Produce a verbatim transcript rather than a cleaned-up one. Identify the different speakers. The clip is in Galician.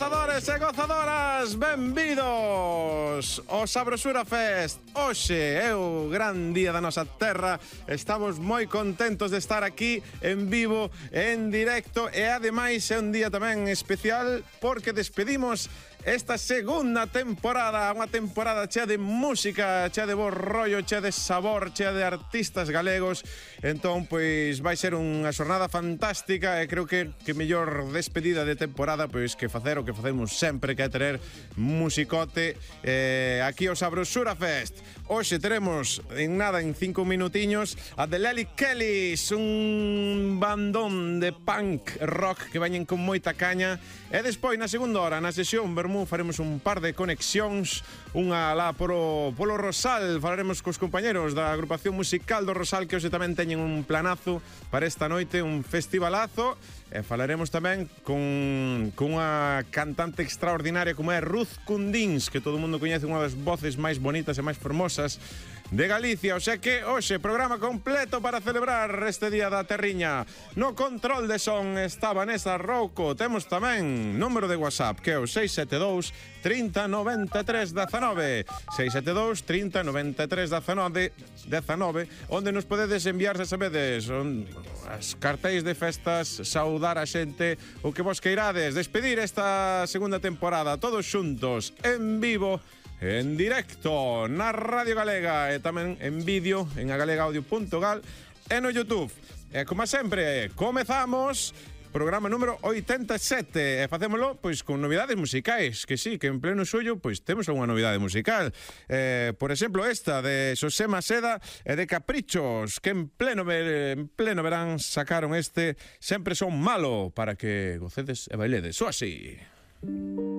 Speaker 1: Gozadores e gozadoras, benvidos ao Sabrosura Fest. Hoxe é o gran día da nosa terra. Estamos moi contentos de estar aquí en vivo, en directo, e ademais é un día tamén especial porque despedimos esta segunda temporada, unha temporada chea de música, chea de bo rollo, chea de sabor, chea de artistas galegos. Entón, pois, vai ser unha xornada fantástica e creo que que mellor despedida de temporada pois que facer o que facemos sempre, que é ter musicote eh, aquí ao Sabrosura Fest. Hoxe teremos, en nada, en cinco minutiños, a The Lely Kellys, un bandón de punk rock que veñen con moita caña. E despois, na segunda hora, na sesión Vermú, faremos un par de conexións, unha lá polo, polo Rosal. Falaremos cos compañeros da agrupación musical do Rosal, que hoxe tamén teñen un planazo para esta noite, un festivalazo. E falaremos tamén con, con unha cantante extraordinaria como é Ruth Cundins, que todo o mundo coñece, unha das voces máis bonitas e máis fermosas de Galicia. O sea que hoxe programa completo para celebrar este día da terriña. No control de son está Vanessa Rouco. Temos tamén número de WhatsApp, que é o seis sete dous, trinta, noventa e tres, dezanove. seis sete dous, trinta, noventa e tres, dezanove, dezanove, onde nos podedes enviar, se sabedes, on, as cartéis de festas, saudar a xente, o que vos queirades, despedir esta segunda temporada todos xuntos, en vivo, en directo, na Radio Galega e tamén en vídeo en agalegaudio punto gal e no YouTube. E como sempre, comezamos programa número oitenta e sete e facémolo pois con novidades musicais, que sí, que en pleno suyo pois temos unha novidade musical. Eh, por exemplo, esta de Xosé Maceda e de Caprichos, que en pleno ver, en pleno verán sacaron este Sempre Son Malo, para que gocedes e bailedes. O así.